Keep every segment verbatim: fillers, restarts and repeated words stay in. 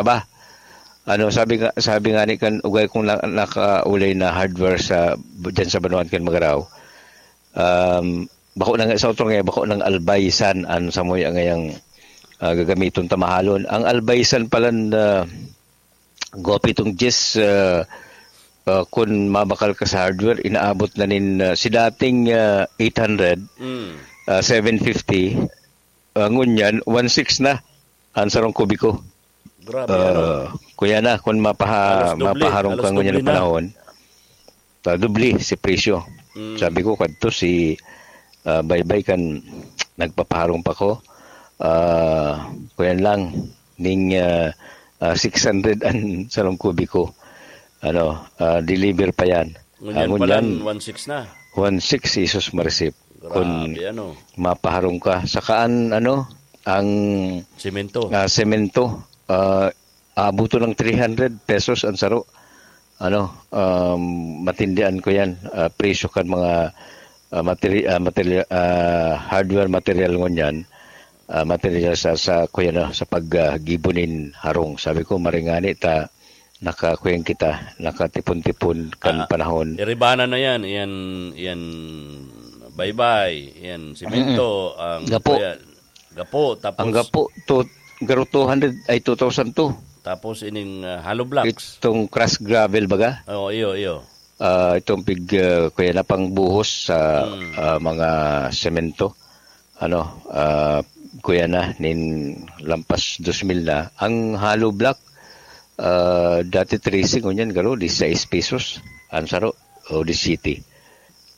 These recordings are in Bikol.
ba? Ano, sabi nga, sabi nga ni kan ugay kong na, nakaulay na hardware sa, diyan sa Banuan kan Magarao. Um, bako nang sa otro nga, bako nang albaysan an samuya ngayang, ah, gagamiton ta mahalon. Ang albaysan pala na gwapo itong Jess, ah, ah, kun mabakal ka sa hardware, inaabot na nin, ah, si dating, ah, eight hundred, Mm. ah, seven fifty, ah, ngunyan, one six na ang sarong kubiko. Grabe, ano? Ah, kuya na, kung mapaha-, Halos doble, mapaharong halos ka ngunyan doble na. panahon, ta doble si presyo. Mm. Sabi ko, kadto si, ah, Baybay kan nagpapaharong pa ko. Ah, kuyan lang, ning, ah, ah, six hundred ang sarong kubiko. Ano, ah, deliver pa yan. Ngunyan Ah, pa ngunyan, lang, one six na. one six, Jesus Marisip. Kun Grabe, ano? mapaharong ka. Saka an, ano, ang, Semento. ah, semento, ah, abuto ng three hundred pesos ang saro. Ano, um, matindihan ko yan. Ah, presyo kan mga, ah, materi-, ah, materi-, ah, hardware material ngunyan. Ah, material sa, sa, kuya, no, sa pag, ah, gibo nin harong. Sabi ko, maringani ta, nakakuyang kita, nakatipon-tipon kan Ah, panahon. Iribana na yan, yan, yan baybay, yan simento, Mm-mm. ang Gapo. kuya, gapo, tapos Ang gapo, to, garo two hundred, ay, two thousand two. Tapos ining, ah, hollow blocks. Itong crushed gravel, baga? Oo, iyo, iyo. Ah, itong pig, ah, kuya na pangbuhos sa, Mm. ah, mga semento. Ano, ah, kuya na, nin lampas dos mil na. Ang hollow block, ah, dati tracing, ngunyan, garo, disisais pesos. Ang saro, o disisiyete.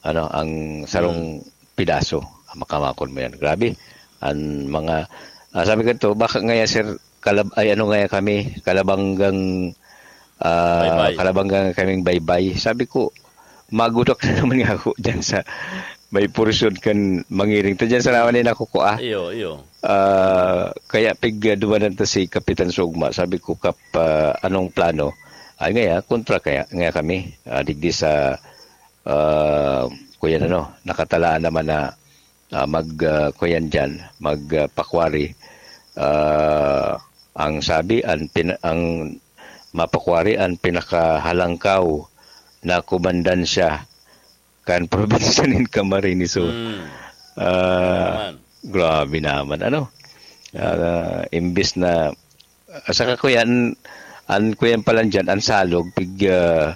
Ano, ang sarong Mm. pidaso. Makamakon mo yan. Grabe. Ang mga, ah, sabi ko to, baka ngaya, sir, kalab-, ay, ano ngaya kami, kalabanggang, ah, Baybay. kalabanggang kaming baybay. Sabi ko, magudak na naman nga ako dyan sa may portion kan mangiring. Ta dyan sa naman na nakukua. Iyo, iyo. Ah, kaya pig, ah, dumanan ta si Kapitan Sugma. Sabi ko, "Kap, ah, anong plano?" Ay, ngaya, kontra kaya, ngaya kami. Ah, digdi sa, ah, kuya na, no, nakatalaan naman na, ah, mag, ah, kuyan dyan, mag, ah, pakwari. Ah, ang sabi, ang pin-, ang mapakwari, ang pinakahalangkaw na komandansya kan probinsya nin Camarines Sur. Mm. Ah, Naman. grabe naman, ano? Ah, imbis na, ah, saka kuyan, an kuyan pa lang dyan, ang salog, pig, ah,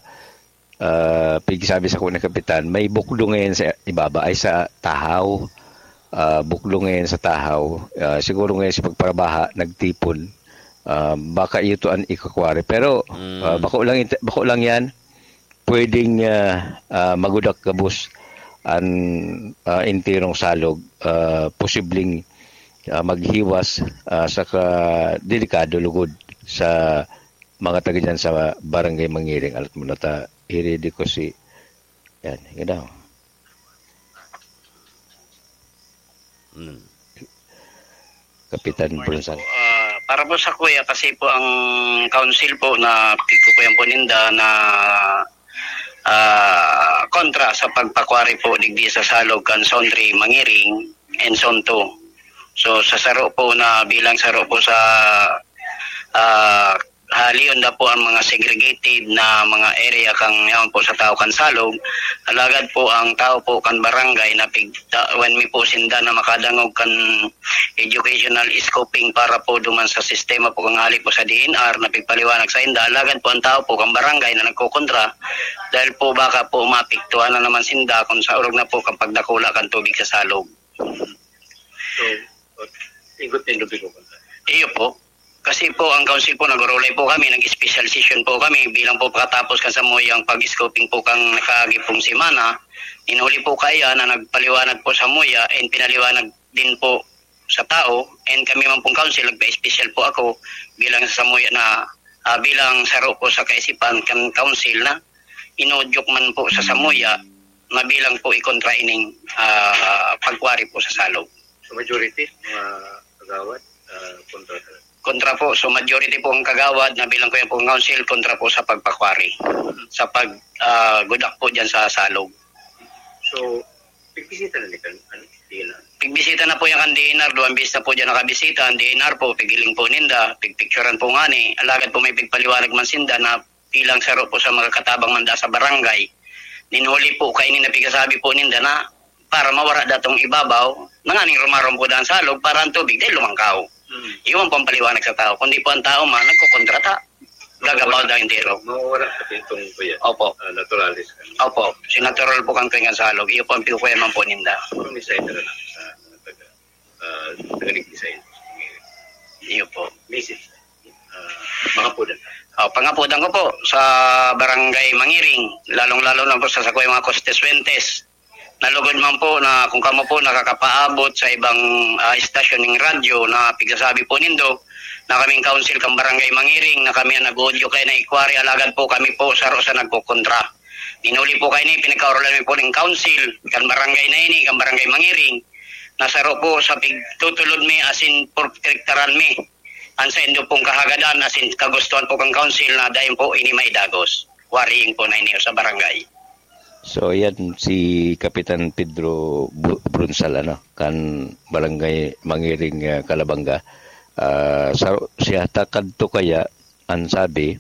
ah, pig sabi sa kuna kapitan, may bukdo ngayon sa ibaba, ay sa Tahaw. Ah, bukdo ngayon sa Tahaw. Ah, siguro ngayon sa pagparabaha, nagtipon. Ah, baka ito ang ikakwari. Pero, Mm. ah, bako lang ito, bako lang yan. Pwedeng, ah, ah, magudak gabos an, ah, enterong salog, ah, posibleng, ah, maghiwas, ah, saka delikado lugod sa mga taga dyan sa Barangay Mangiring. Alat mo na ta, iridi ko si, yan, ikaw daw. Mm. Kapitan Brunsan. Ah, para po sa kuya, kasi po ang council po na pigkukuyan po ninda na, ah, kontra sa pagpakwari po digdi sa Salog kan Zone three, Mangiring, and Zone two. So, sa saro po na bilang saro po sa, ah, halion na po ang mga segregated na mga area kang yaon po sa tao kan Salog. Alagad po ang tao po kan barangay na pig-, ta-, when mi po sinda na makadangog kan educational scoping para po duman sa sistema po kang hali po sa D N R na pigpaliwanag sa inda. Alagad po ang tao po kang barangay na nagkokontra dahil po baka po maapektuhan na naman sinda kung sa orog na po kang pagdakula kan tubig sa Salog. So, igot nindo bigo kontra? Iyo po. Kasi po, ang council po, nagurulay po kami, nag-special session po kami bilang po pakatapos kan samuyang pag-scoping po kang nakaagi pong semana. Inuli po kaya na nagpaliwanag po sa muya and pinaliwanag din po sa tao. And kami man pong council, nagpa-special po ako bilang sa samuya na, ah, bilang saro po sa kaisipan kan council na inudyok man po sa samuya na bilang po ikontra ining, ah, pagwari po sa Salog. So, majority, mga kagawad, ah, kontra sa Kontra po. So, majority po ang kagawad na bilang ko yan po ang council, kontra po sa pagpakwari, sa pag, ah, gudak po dyan sa Salog. So, Pigbisita na ni kan, ano, D N R. Pigbisita na po yan kan D N R, duwang beses na po dyan nakabisita. Ang D N R po, pigiling po ninda, pigpicturan po nga ni. Alagad po may pigpaliwanag man sinda na bilang saro po sa mga katabang manda sa barangay. Ninhuli po kaini na pigasabi po ninda na para mawara datong ibabaw, nanganing rumarom po dan salog para ang tubig dahil lumangkaw. Hmm. Iwan po ang paliwanag sa tao. Kundi po ang tao man, nagkukontrata. Gagabaw na entero. Mawawala pati itong kuya. Opo. Ah, naturalis ka. Opo. Si natural po kang tuwing ang salog. Iyo po ang piukuyan man po ninda. Kung design na lang sa mga taga, ah, taga-design. Iyo po. Message. Ah, mga po na. Ah, pangapudan ko po sa Barangay Mangiring, lalong-lalo na po sa sakoy mga Costes Fuentes. Nalugod man po na kung kamo po nakakapaabot sa ibang, ah, istasyon ng radyo na pigsasabi po nindo na kaming council kan Barangay Mangiring na kami ang nag-audio kay na ikwari, alagad po kami po saro sa nagkukontra. Ninuli po kayo ni, pinagkauralan mi po ning council kan barangay na ini, kan Barangay Mangiring, na saro po sa pigtutulod mi asin protektaran mi. Ang saindo pong kahagadan asin kagustuhan po kan council na dayon po ini maidagos. Quarrying po na ini sa barangay. So, yan si Kapitan Pedro Bu-, Brunsal, ano, kan Barangay Mangiring, ah, Calabanga. Ah, sa, siya ta kadto kaya, ang sabi,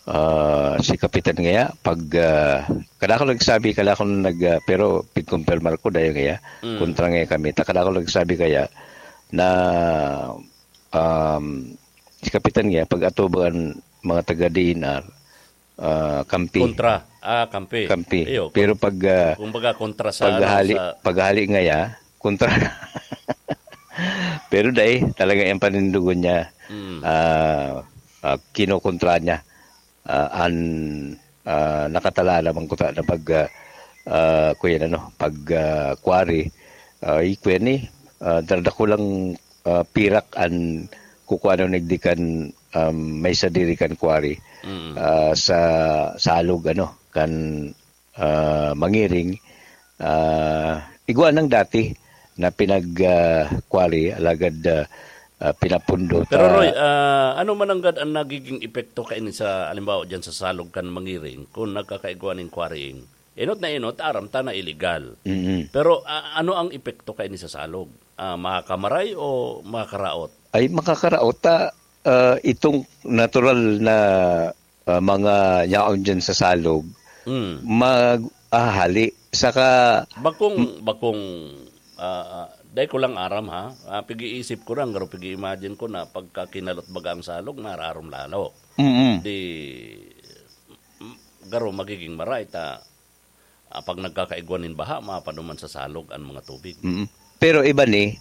ah, si Kapitan ngaya, pag, ah, kada ako nagsabi, kada ako nag, ah, pero pigkumpirmar ko, dayo ngaya, Mm. kontra ngaya kami. Ta kada ako nagsabi kaya, na, um, si Kapitan ngaya, pag atubang an mga taga D N R, ah, kampi. Kontra. Ah, kampi. Kampi. Iyo, Pero pag, ah, kumbaga, kontra sa, ano, paghali, sa paghali ngaya, kontra. Pero dai, talagang yung panindugon niya, Mm. ah, ah, kinokontra niya. Ah, an, ah, nakatala naman ko ta-, na pag, ah, ah, kuya, ano, pag, ah, quarry, ah, i-, kuya ni, ah, darda ko lang, ah, pirak an kukuha ng nagdi kan, um, may sadiri kan quarry, Mm. ah, sa, sa alog, ano, kan, ah, Mangiring, ah, igwa nang dati na pinag, ah, quarry, alagad, ah, ah, pinapundo Pero, ta Roy, ah, ano man nanggad ang nagiging epekto kaini sa, halimbawa, diyan sa salog kan Mangiring, kung nagkakaigwa nin quarrying? Enot na enot, aram ta na illegal. Mm. Pero, ah, ano ang epekto kaini sa salog? Ah, makakamaray o makakaraot? Ay, makakaraot ta, ah, itong natural na, ah, mga yaon dyan sa salog, Mm. mag-ahali. Saka Bakong, bakong, ah, ah, dai ko lang aram, ha? Ah, pig-iisip ko lang, pero pig-i-imagine ko na pagka kinalot baga ang salog, mararom lalo. Mm. Di, m-, garo magiging maray ta, ah, pag nagkakaigwa nin baha, mapaduman sa salog an mga tubig. Mm. Pero iba ni,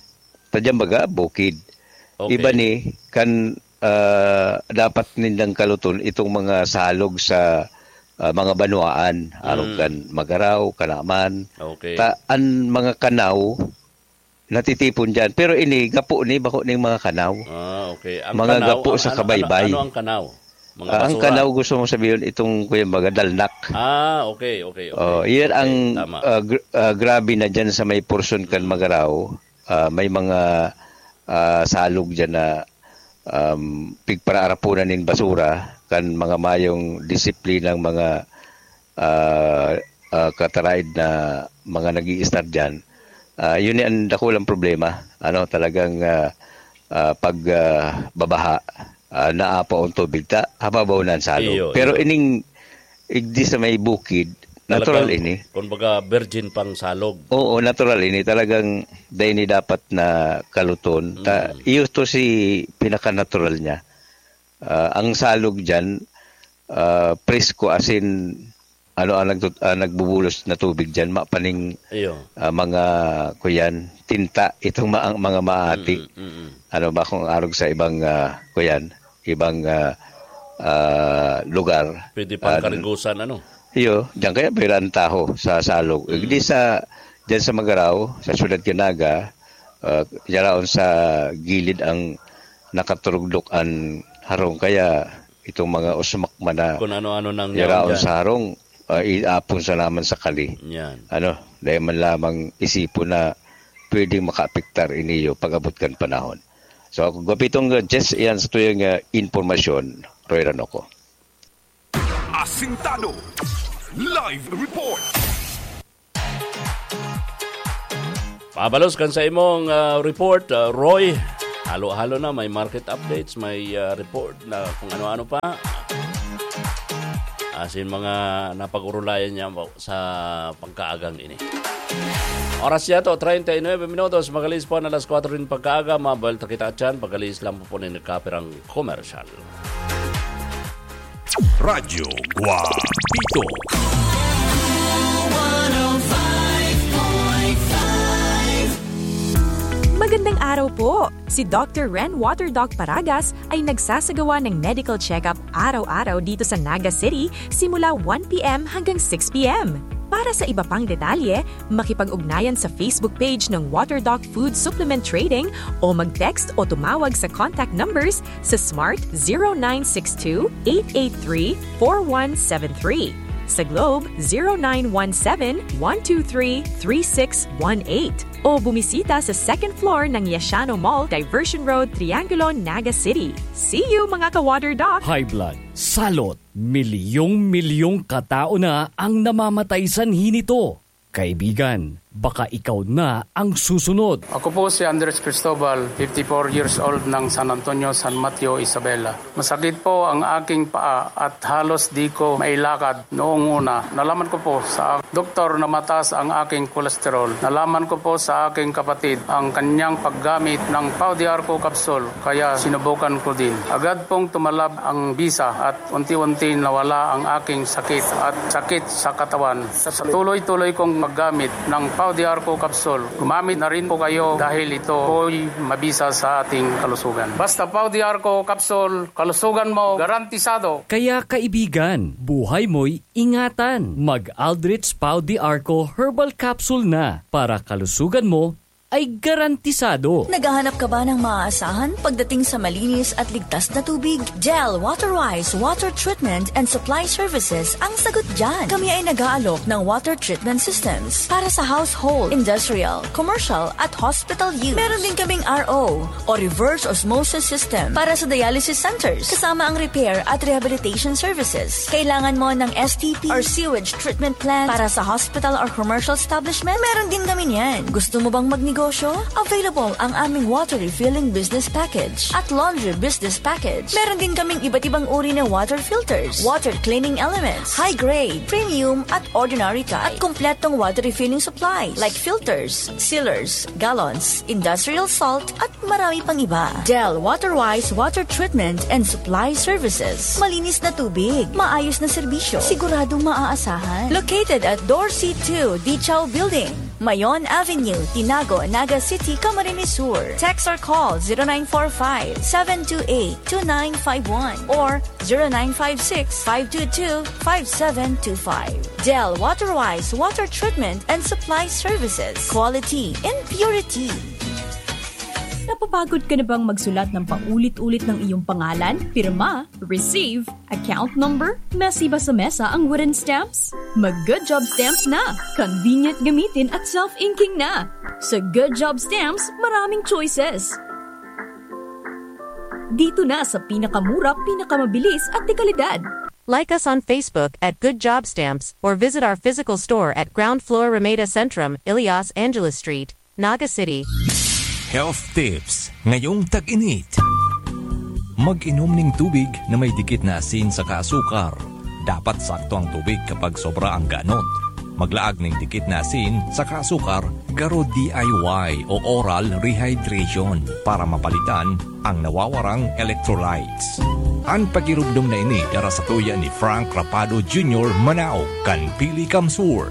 ta dyan baga, bukid. Okay. Iba ni, kan, ah, dapat nindang kaluton itong mga salog sa, ah, mga banwaan, arog Mm. kan Magaraw, Kanaman. Okay. Ta, an mga kanaw, natitipon diyan. Pero ini, gapo ni, bako ning mga kanaw. Ah, okay. Ang Mga kanaw, gapo ang sa ano, ano, kabaybay. ano ang kanaw? Mga Ah, ang basura? kanaw gusto mong sabihin, itong, kuya, mga dalnak. Ah, okay, okay, okay. Oh, iyan Okay, ang, tama. ah, gr-, ah, grabe na diyan sa may porsyon kan Magaraw. Ah, may mga, ah, salog diyan na, um, pigparaarapunan nin basura kan mga mayong disiplinang mga ah, ah, kataraid na mga nag-i-istar diyan, ah, yun ang dakulang problema. Ano, talagang, ah, ah, pag, ah, babaha, ah, naapaw ang tubig ta, hababaw na ang salog. Iyo, Pero iyo. ining igdi sa may bukid, natural Talagang, ini. kumbaga, virgin pang salog. Oo, natural ini. Talagang dai ni dapat na kaluton. Ta, Mm. iyo to si pinaka-natural niya. Ah, ang salog diyan, ah, presko, as in, ano, ang nagtut-, ang nagbubulos na tubig diyan, mapaning, Iyo. ah, mga, kuyan, tinta, itong ma-, ang mga maati. Mm, mm, mm. Ano ba kung arog sa ibang, ah, kuyan, ibang, ah, ah, lugar? Pwede pang Ah, karigusan, ano? Iyo, diyan kaya pwera ang taho sa salog. Mm. Di sa, diyan sa Magaraw, sa Siyudad Kinaga, ah, yaraon sa gilid ang nakaturugdok an harong, kaya itong mga usmak man na Kung ano-ano nang yaon yaraon dyan. sa harong, ah, iapon sa naman sa kali. Yan. Ano, dahil man lamang isipon na pwedeng makaapektar iniyo pag-abot kan panahon. So, ako, gapitong, uh, Jess, iyan sa tuyang, uh, impormasyon, Roy Ranoco. Asintado. Live report. Pabalos kan sa imong, ah, report, ah, Roy. Halo-halo na, may market updates, may, ah, report na kung ano-ano pa. Asin mga napag-urulayan niya sa pagkaagang ini. Oras niya to, treinta y nueve minutos. Magalis po na alas kwatro nin pagkaaga. Mabal ta kita dyan. Pagalis lang po po na nagkapirang komersyal. Radyo Guapito. Magandang araw po! Si Doctor Ren Water Doc Paragas ay nagsasagawa ng medical check-up araw-araw dito sa Naga City simula one p m hanggang six p m. Para sa iba pang detalye, makipag-ugnayan sa Facebook page ng Water Doc Food Supplement Trading o mag-text o tumawag sa contact numbers sa Smart zero nine six two, eight eight three, four one seven three, sa Globe zero nine one seven, one two three, three six one eight, o bumisita sa second floor ng Yashano Mall, Diversion Road, Triangulo, Naga City. See you, mga ka-Water Doc! High blood, salot, milyong-milyong katao na ang namamatay sanhi nito. Kaibigan, baka ikaw na ang susunod. Ako po si Andres Cristobal, fifty-four years old, ng San Antonio, San Mateo, Isabela. Masakit po ang aking paa at halos di ko mailakad noong una. Nalaman ko po sa doktor na mataas ang aking kolesterol. Nalaman ko po sa aking kapatid ang kanyang paggamit ng Pau de Arco capsule, kaya sinubukan ko din. Agad pong tumalab ang bisa at unti-unti nawala ang aking sakit at sakit sa katawan. Sa tuloy-tuloy kong paggamit ng Pau de Arco capsule, gumamit na rin po kayo dahil ito po'y mabisa sa ating kalusugan. Basta Pau de Arco capsule, kalusugan mo garantisado. Kaya kaibigan, buhay mo'y ingatan. Mag Aldrich Pau de Arco Herbal Capsule na para kalusugan mo ay garantisado. Naghahanap ka ba ng maaasahan pagdating sa malinis at ligtas na tubig? Del Waterwise Water Treatment and Supply Services ang sagot dyan. Kami ay nag-aalok ng water treatment systems para sa household, industrial, commercial at hospital use. Meron din kaming R O o reverse osmosis system para sa dialysis centers, kasama ang repair at rehabilitation services. Kailangan mo ng S T P or sewage treatment plant para sa hospital or commercial establishment? Meron din kami niyan. Gusto mo bang magnegosyo? Available ang aming water refilling business package at laundry business package. Meron din kaming iba't ibang uri na water filters, water cleaning elements, high grade, premium at ordinary type, at kompletong water refilling supplies like filters, sealers, gallons, industrial salt, at marami pang iba. Del Waterwise Water Treatment and Supply Services. Malinis na tubig, maayos na serbisyo, siguradong maaasahan. Located at Dorsey two Dichaw Building, Mayon Avenue, Tinago, Naga City, Camarines Sur. Text or call zero nine four five, seven two eight, two nine five one or zero nine five six, five two two, five seven two five. Del Waterwise Water Treatment and Supply Services. Quality in purity. Napapagod ka na bang magsulat ng paulit-ulit ng iyong pangalan, pirma, receive, account number, mesi ba sa mesa ang wooden stamps? Mag Good Job Stamps na! Convenient gamitin at self-inking na! Sa Good Job Stamps, maraming choices. Dito na sa pinakamura, pinakamabilis at dekalidad. Like us on Facebook at Good Job Stamps or visit our physical store at ground floor Ramada Centrum, Ilias Angeles Street, Naga City. Health tips ngayong tag-init. Mag-inom ning tubig na may dikit na asin saka asukar. Dapat sakto ang tubig kapag sobra ang ganot. Maglaag ning dikit na asin saka asukar, garo D I Y o oral rehydration para mapalitan ang nawawarang electrolytes. An pagirugdong na ini dara sa tuya ni Frank Rapado Junior, Manaog kan Pili Kamsur.